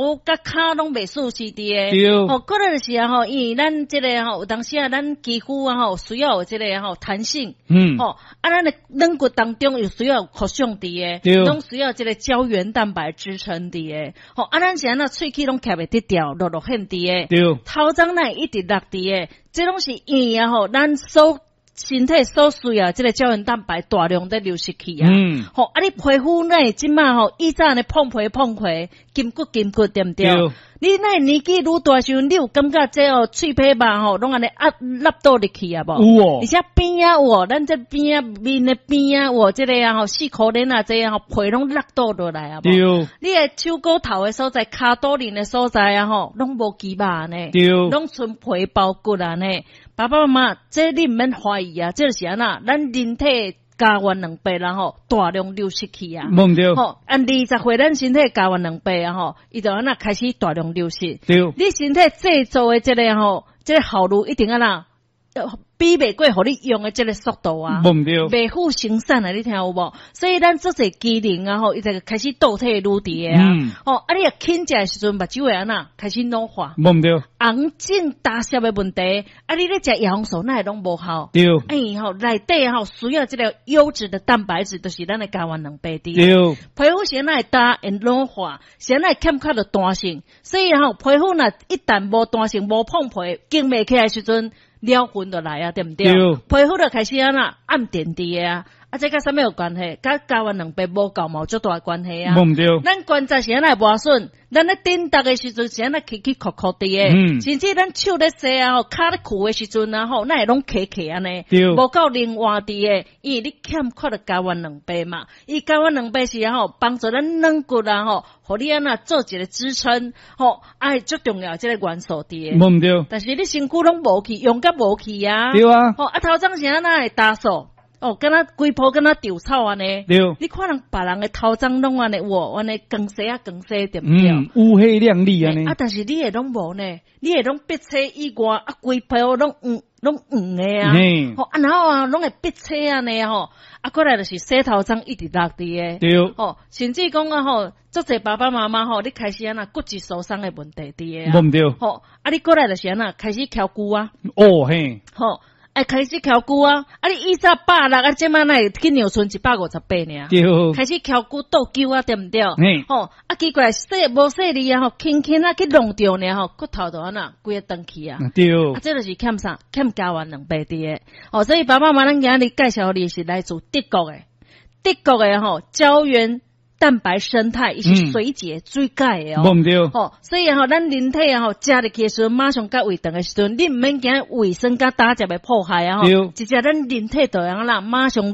佮跤攏袂舒適佇的。吼，過來就是啊吼，因為咱這个吼，有當時啊，咱肌膚啊吼，需要有這个吼彈性。吼，啊，咱的軟骨當中有需要有擴張佇的，攏需要這个膠原蛋白支撐佇的。吼，啊，咱是按怎喙齒攏徛袂得牢，落落現佇的。頭鬃哪會一直落佇的，這攏是因為啊吼，咱所身體所需要這个膠原蛋白大量咧流失去啊。吼，啊，你皮膚哪會這馬吼，以早按呢膨皮膨皮，筋骨筋骨對毋對？對。你哪會年紀愈大時陣，你有感覺這哦喙皮肉吼，攏按呢壓凹倒入去啊無？有哦。而且邊仔有哦，咱這邊仔面的邊仔有這个啊吼，四箍鏈啊，這啊吼皮攏落倒落來啊無？對。你的手骨頭的所在、跤肚輪的所在啊吼，攏無肌肉呢，攏賰皮包骨啊呢。爸爸媽媽，這你毋免懷疑啊，這就是按怎，咱人體膠原蛋白啦吼，大量流失去啊。無毋對。吼，按20歲咱身體膠原蛋白啊吼，伊就按怎開始大量流失。你身體製造的這个吼，這个效率一定按怎比袂過予你用的這个速度啊。無毋對。袂敷生產啊，你聽有無？所以咱足濟機能啊吼，伊就開始倒退愈佇的啊。吼，啊，你若輕食的時陣，目睭會按怎開始老化。無毋對。紅腫焦澀的問題，啊，你咧食葉黃素，哪會攏無效？哎吼，內底吼需要這个優質的蛋白質，就是咱的膠原蛋白佇。皮膚是按怎會焦會老化，是按怎會欠缺著彈性？所以吼，皮膚若一旦無彈性、無膨皮、經袂起來時陣，了痕就來啊，對毋對？對。皮膚就開始按怎暗沉佇的啊，啊，這佮啥物有關係？佮膠原蛋白無夠嘛有足大的關係啊。無毋對。咱關節是按怎會磨損？咱咧振動的時陣是按怎起起曲曲佇的？甚至咱手咧洗啊吼，跤咧跍的時陣啊吼，哪會攏卡卡按呢？無夠靈活佇的，因為你欠缺著膠原蛋白嘛。伊膠原蛋白是啊吼，幫助咱軟骨啊吼，予你按怎做一個支撐吼，啊，足重要這個元素佇的。無毋對。但是你身軀攏無去，用甲無去啊。吼，啊，頭鬃是按怎會焦燥？哦，敢若規鋪敢若稻草按呢。你看人別人的頭鬃攏按呢有按呢光雪啊光雪對毋對？嗯，烏黑亮麗按呢。啊，但是你的攏無呢，你的攏篦車以外啊，規鋪攏黃攏黃的啊。吼，啊，然後啊，攏會篦車按呢吼，啊，過來就是洗頭鬃一直落佇的。吼，甚至講啊吼，足濟爸爸媽媽吼，你開始按怎骨質疏鬆的問題佇的啊。無毋對。吼，啊，你過來就是按怎開始翹骨啊。哦嘿。吼。哎，開始翹骨啊！啊，你以早160，啊，這馬哪會去娘賰158爾？開始翹骨倒臼啊，對毋對？吼，啊，奇怪，細無細膩啊，吼，輕輕啊去弄著爾吼，骨頭就按怎規个斷去啊。啊，這就是欠啥？欠膠原蛋白佇的。哦，所以爸爸媽媽，咱今日介紹予你是來自德國的，德國的吼膠原蛋白胜肽，伊是水解水解的哦。無毋對。吼，所以吼，咱人體啊吼，食入去的時陣，馬上佮胃腸的時陣，你毋免驚胃酸佮膽汁的破壞啊吼。直接咱人體就會按怎馬上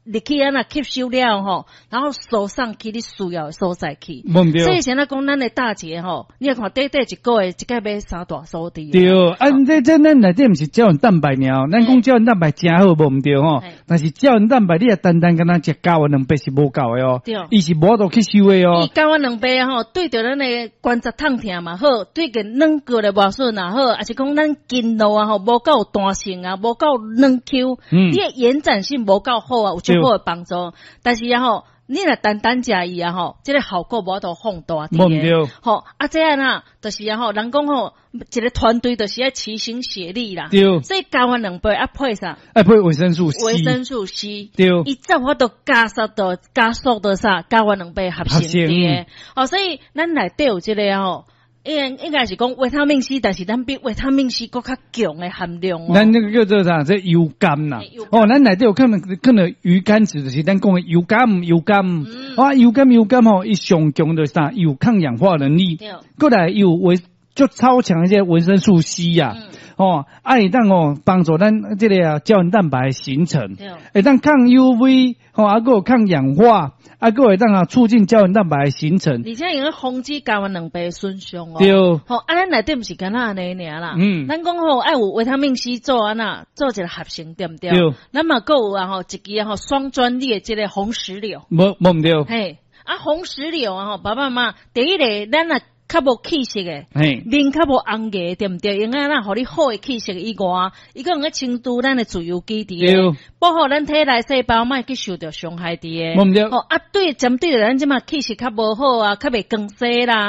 入去按怎吸收了吼，然後輸送去你需要的所在去。無毋對。所以現在講咱的大姐吼，你看短短一個月，一擺買三大手佇。對，啊，這咱內底毋是膠原蛋白爾，咱講膠原蛋白誠好，無毋對吼。但是膠原蛋白你若單單敢若食膠原蛋白是無夠的哦。伊是無法度吸收的哦。伊膠原蛋白吼，對著咱的關節痛疼嘛好，對個軟骨的磨損也好，抑是講咱筋肉啊吼無夠彈性啊，無夠軟 Q，你的延展性無夠好啊，有足好的幫助。但是啊吼，你若單單食伊啊吼，這個效果無法度放大。無毋對。吼，啊，這按怎，就是啊吼，人講吼，一個團隊就是愛齊心協力啦。所以膠原蛋白愛配啥？愛配維生素 C。維生素 C。伊才有法度加速到啥？膠原蛋白合成佇的。哦，所以咱內底有這個吼。應該是講維他命 C，但是咱比維他命 C 閣較強的含量哦。咱那個叫做啥？這油苷啦。哦，咱內底有可能魚肝子，就是咱講的油苷，油苷。啊，油苷油苷吼，伊上強就是啥？有抗氧化能力。過來有維就超強一些維生素 C 呀。哦，啊，會當哦幫助咱這個啊膠原蛋白形成。會當抗 UV，吼，啊，閣有抗氧化。啊，閣會當啊促進膠原蛋白形成，而且會防止膠原蛋白損傷哦。吼，啊，咱內底毋是干焦按呢爾啦。咱講吼愛有維他命 C 做按怎做一個合成，對毋對？對。咱嘛閣有啊吼，一支吼雙專利的這個紅石榴。無毋對。嘿，啊紅石榴啊吼，爸爸媽媽，第一个咱若較無氣色的，面較無紅額，對毋對？應該咱予你好的氣色以外，伊閣用咧清除咱的自由基佇的，保護咱體內細胞莫去受著傷害佇的。無毋對。吼啊，對，針對著咱這馬氣色較無好啊，較袂光鮮啦。